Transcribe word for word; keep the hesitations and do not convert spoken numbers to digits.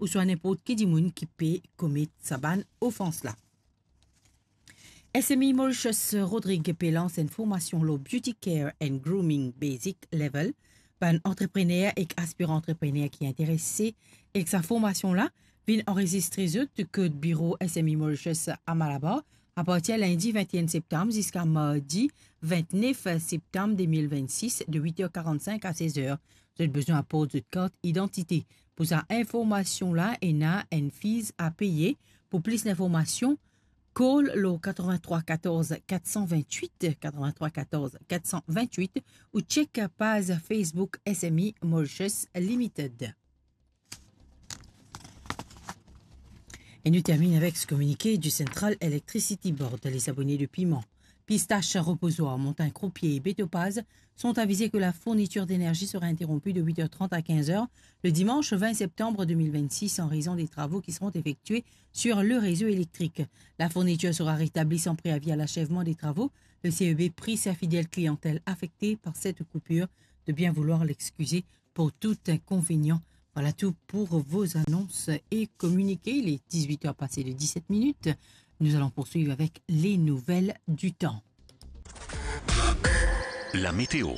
ouswa ninport ki dimoun ki pe komet sa bann ofans la. S M E Mauritius Rodrig pe lans enn formasion lor Beauty Care and Grooming Basic Level. Bann antreprener ek aspiran antreprener ki interese ek sa formasion la, vinn anrezistre zot kot biro S M E Mauritius a Malabar, apartir lindi vinte-enn septam ziska mardi vintnef septam de mil vintsis, de wit er karannsenk a sez er. Zot bizin aport zot kart idantite. Pou sa formasion la, ena enn fees a peye. Pou plis linformasion, call lor katrevin-trwa katorz kat san vintwit, katrevin-trwa katorz kat san vintwit, ou check paz Facebook S M E Mauritius Limited. E nou terminn avek se kominike di Central Electricity Board. Les abonnés de Piment, Pistache, Reposoir, Montagne Croupier et Bétopaz sont avisés que la fourniture d'énergie sera interrompue de huit heures trente à quinze heures le dimanche vingt septembre deux mille vingt-six en raison des travaux qui seront effectués sur le réseau électrique. La fourniture sera rétablie sans préavis à l'achèvement des travaux. Le C E B prie sa fidèle clientèle affectée par cette coupure de bien vouloir l'excuser pour tout inconvénient. Voilà tout pour vos annonces et communiqués. Il est dix-huit heures passées de dix-sept minutes. Nous allons poursuivre avec les nouvelles du temps. La météo.